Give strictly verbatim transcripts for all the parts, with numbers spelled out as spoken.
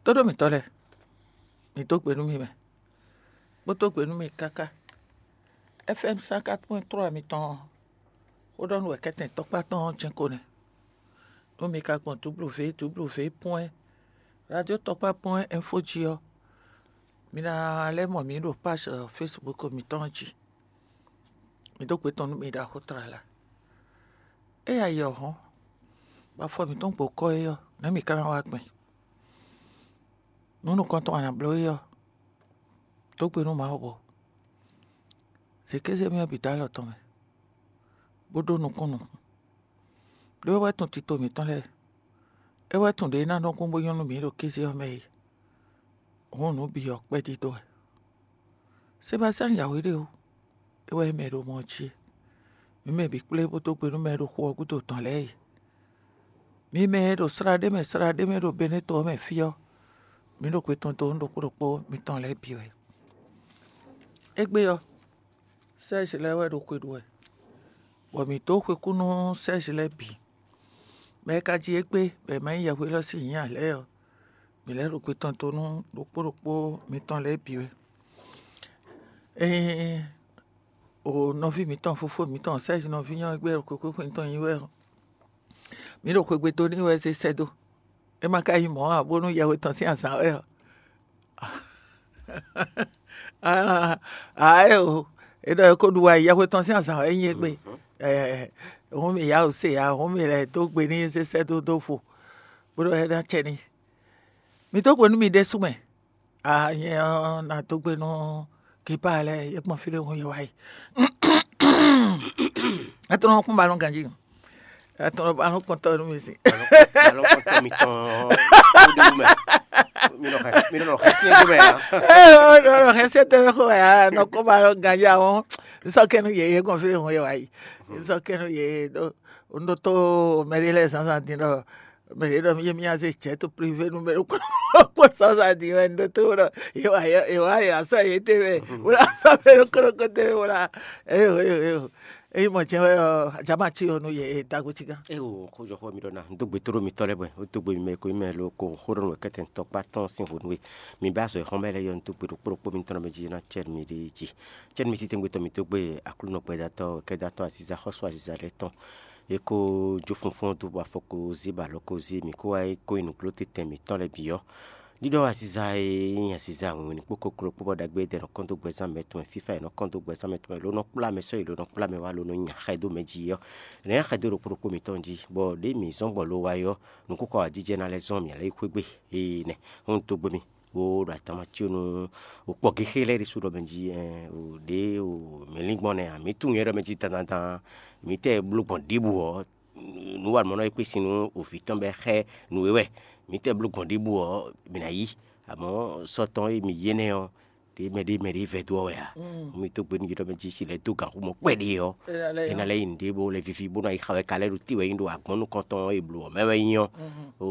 Tóɖó mǐtɔn lɛ́ɛ, mǐ dó gbe nú mi mɛ, bó dó gbe nú mi káká. F M cent quatre point trois mitɔn ɔ́, xó ɖɔ nú wɛ kɛ́tɛn tɔkpá tɔn ɔ́ jɛ́n ko nɛ́. Nú mi ka gbɔn W W W point radio tɔkpá point info jí ɔ́, mi ná lɛ́ mɔ mǐ ɖo page Facebook mitɔn ɔ́ jí. Mǐ dó gbe tɔn nú mi ɖaxó tlala. Ée ayǐ ɔ́ hɔ́n, bɔ afɔ mǐtɔn gbo kɔ́ é ɔ́, nɛ̌ mǐ ka ná wá gbɛn? Nǔ nukɔntɔn a nǎ bló é ɔ́, dó gbe nú Mawu bɔ zě kéze mì ɔ́ bǐ dó alɔ tɔn mɛ, bó ɖó nukún nukún. Ɖó é wɛ tunwun tito mǐtɔn lɛ́ɛ; é wɛ tunwun ɖě é ná nɔ kún bó nyɔ́ nú mǐ ɖo kéze ɔ́ mɛ é. Hǔn nǔ bǐ ɔ́ kpɛ́ dídó wɛ. Sebastiyani yǎwe ɖé o, é wɛ nyí mɛ e ɖo mɔ ɔ́ jí é. Mǐ mɛ bǐ kplé bó dó gbe nú mɛ e ɖo xu ɔ́ gúdo tɔn lɛ́ɛ e. Mi mɛ e ɖo slá ɖé mɛ slá ɖé mɛ ɖo Beneto ɔ́ mɛ fí ɔ́, mǐ ɖo gbe tɔn dó nú ɖokpó ɖokpó mitɔn lɛ́ɛ bǐ wɛ. Égbé ɔ́, Sɛ́zi lɛ́ɛ wɛ ɖo xwe ɖu wɛ, bɔ mǐ dó xwekú nú Sɛ́zi lɛ́ɛ bǐ. Mɛ e ka jí égbé bɔ è ma nyí yɛhweɖɔ sín nyǐ ǎ lɛ́ɛ ɔ́, mǐ lɛ́ ɖo gbe tɔn dó nú ɖokpó ɖokpó mitɔn lɛ́ɛ bǐ wɛ. Ée o nɔví mǐtɔn fofó mǐtɔn Sɛ́zi nɔví nyɔ́ égbé ɖo xwekú xwe mitɔn nyí wɛ ɔ́, mǐ ɖo xwegbe dó n'i wɛ zé sɛ́ dó. É ma ka nyí mɔ̌ ǎ, bónú yɛhwe tɔn sín azǎn wɛ ɔ́, aa ée o, é ɖɔ é ko ɖu wá yi yɛhwe tɔn sín azǎn wɛ nyí égbé. Hǔn mì yá o se ǎ, hǔn mì lɛ́ dó gbe n'i zé sɛ́ dó dó fo, bó ɖɔ é ná acɛ n'i. Mi dó gbe nú mi ɖésú mɛ. Aa nyɛ ɔ́, ná dó gbe nú Gepaa lɛ́ɛ, yě gbɔn fí ɖé hun yě wá yi. Ɛ tɔn nɔ kún ba nɔ ganjí. Ɛ tɔn nɔ ba nɔ kpɔn tɔ́ nú mi si. Alɔkɔtɔ mitɔn ɔ́, ó ɖe wú mɛ. Mi nɔ xɛ, mi nɔ xɛ sí ɛgbẹ́ mɛ ǎ. Ɛ ɔ nɔ xɛ sí ɛgbẹ́ mɛ xó ɛ nɔ kó ba nɔ ganjí àwọn. Nsɔkɛnu yě yě gbɔn fí ɖé hun yě wá yi. Nsɔkɛnu yě ɖó un ɖó tó mɛ ɖé lɛ́ɛ zǎnzǎn dín ɖɔ mɛ ɖě ɖɔ mí mí azé jɛ tó privé nú mɛ ɖokpó ɖokpó sɔ́sɔ adi wɛ un ɖó tó ɖɔ yě wá yě wá yě asɔ yě tɛ́ mɛ wó ná sɔ́ mɛ ɖokpó ɖokpó tɛ́ mɛ wó ná eyo eyo eyo eyi mɔ jɛ wɛ ɔ ajama tí ɔ nú yě dago tí gán. Eo xójɔxó mi ɖɔ na dó gbe tóɖó mitɔn lɛ́ɛ bɔ ó dó gbe mɛ ko mɛ lo ko xó ɖɔ nú kɛtɛ tɔkpá tɔn sín hǒnú e mi bá azɔ xɔmɛ lɛ́ɛ yɔ dó gbe ɖokpó ɖokpó mitɔn mɛ jí ná cɛ mi ɖe jí cɛ mi títí gbetɔ mi dó gbe aklúnɔ gbɛdatɔ kɛdatɔ aziza xɔsú aziza lɛ́ɛ tɔn. E ko jó funfún dó bɔ afɔ ko zé bɔ alɔ ko zé mǐ kó wá yi kó nyi nǔgló tɛntɛn mǐtɔn lɛ́ɛ bǐ ɔ́, ɖiɖɔ aziza e nyí aziza wǐnwlin kpó kokló kpó bɔ ɖagbe e dɛ nɔ kɔn dó gbɛzán mɛ tɔn mɛ fífá e nɔ kɔn dó gbɛzán mɛ tɔn mɛ ló nɔ kplá mɛ sɔ́yi ló nɔ kplá mɛ wá ló nɔ nya xɛ dó mɛ jí ɔ́, è nǎ nya xɛ dó ɖo kplɔ́kpó mǐtɔn jí, bɔ ɖěe mǐ zɔ́n gbɔ lo wá é ɔ́, nǔkúkɔ wǎjijɛ ná lɛ́ zɔ́n mǐ lɛ́ yi xwé gbe. Énɛ́ hún dó gbe mì. Wo ɖo atama cí nú wò kpɔ gěxé lɛ́ɛ ɖésú ɖɔ mɛ jí ɖě mǐ lín gbɔn nɛ́ ǎ. Mǐ tunwun nyɛ ɖɔ mɛ jí dandandan mǐ tɛ bló gbɔn ɖěbǔ ɔ́, nǔ wa mɔ̌ nɔ e kpé sin nú wò vǐ tɔn bɔ é xɛ nǔ é wɛ. Mǐ tɛ bló gbɔn ɖěbǔ ɔ́, mǐ ná yí. Amɔ̌ sɔ́ tɔn e mǐ yí énɛ́ ɔ́, ɖě mɛ ɖě mɛ ɖě vɛ́ dó ɔ́ wɛ ǎ. Mi dó gbe nú yě ɖɔ mɛ jí si lɛ́ dó gǎn xú mɔ kpɛɖé ɔ́, é ná lɛ́ nyí nǔɖé bó lɛ́ víví bó ná yi xa wɛ ka lɛ́ ɖo tí wɛ nyí ɖo agbɔ̌n nukɔntɔn e blǒ ɔ́ mɛ wɛ nyí ɔ́. O,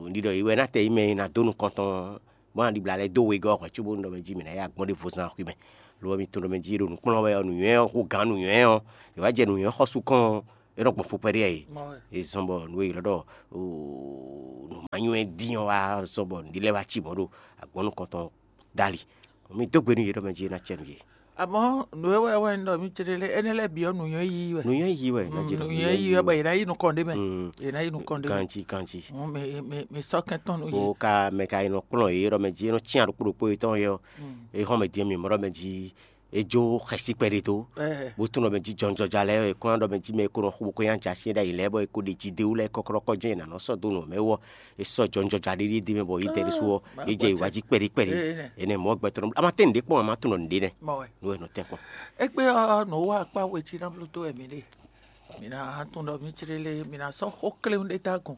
un ɖi ɖɔ é wɛ ná tɛ nyí mɛ e ná dó nukɔntɔn bó ná ɖibla lɛ́ dó wegɔ́ hwɛ̌ cóbónú ɖɔ mɛ jí mǐ ná yá gbɔn ɖěvo zán xwimɛ. Lo ɔ́, mi tunwun ɖɔ mɛ jí ɖo nǔkplɔ́n wɛ ɔ́, nǔnywɛ́ ɔ́, xó gǎn nǔnywɛ́ ɔ́, è wǎ jɛ nǔnywɛ́ xɔ́sú kɔn ɔ́, é nɔ gbɔn fukpɛɖé ɛ yi. É zɔ́n bɔ nǔ e ylɔ́ ɖɔ nǔmánywɛ́ dín ɔ́ wá zɔ́n bɔ nǔɖé lɛ́ɛ wá cí mɔ̌ ɖo agbɔ̌n nukɔntɔn dali. Mi dó gbe nú yě ɖɔ mɛ jí é ná cɛ nú yě. Àmọ́ nǔ e wɛ wɛ un ɖɔ mì céɖélé énɛ́ lɛ́ɛ bǐ ɔ́ nǔnywɛ́ yíyí wɛ. Nǔnywɛ́ yíyí wɛ, ná jɛ nǔnywɛ́ yíyí wɛ bɔ yě ná yí nukɔn ɖé mɛ. Yě ná yí nukɔn ɖé mɛ. Ganjí, ganjí. Hǔn mi mi mi sɔ́ kɛntɔn nú yě. Wo ka mɛ ka yi nɔ kplɔ́n yě ɖɔ mɛ jí é nɔ cyán ɖokpó ɖokpó yětɔn yɛ ɔ́, é hɔn mɛ din mi mɔ ɖɔ mɛ jí é jó xɛsí kpɛɖé dó. Bó tún ɖɔ mɛ jí jɔnjɔja lɛ́ɛ é kó ná ɖɔ mɛ jí mɛ é kó nɔ xo bó kó nyá jǎ syɛ́n ɖ'ayǐ lɛ́ɛ bɔ é kó ɖe jí dé wú lɛ́ɛ kɔ́klɔ́kɔ́ jɛ́n è nǎ nɔ sɔ́ dó nǔ mɛ wú ɔ́, é sɔ́ jɔnjɔja ɖíɖí dé mɛ bɔ yí dɛ ɖésú ɔ́, é jɛ yi wá jí kpɛɖí kpɛɖí. Énɛ́ mɔ̌ gbɛtɔ́ nɔ ama tɛ́ nǔɖé kpɔ́n ama tún nɔ nǔɖé nɛ́. Nú é nɔ tɛ́n kpɔ́n. Égbé ɔ́, nǔ wa akpá we jí ná bló dó wɛ mǐ ɖe. Mǐ ná tunwun ɖɔ mǐ clélé, mǐ ná sɔ́ xó kléwún ɖé dó agun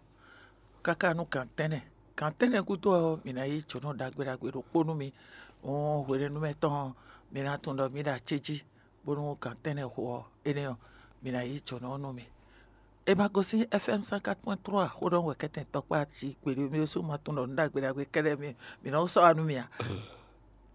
káká nú gan tɛ́nnɛ. Gan tɛ́nnɛ gúdo ɔ́, mǐ ná yí jǒnɔ ɖagbe ɖagbe ɖokpó nú mi. Hǔn hwenɛ́nu mɛ tɔn ɔ́, mǐ ná tunwun ɖɔ mǐ ɖo acéjí, bónú gan tɛ́nnɛ xo ɔ́, énɛ́ ɔ́, mǐ ná yí jǒnɔ ɔ́ nú mi. È ma gosín F M cent quatre point trois xó ɖɔ wɛ kɛ́tɛn tɔkpá jí gbeɖé mì ɖésú ma tunwun ɖɔ nǔ ɖagbe ɖagbe kɛ́ɖɛ́ mì mǐ nɔ sɔ́ wa nú mì ǎ.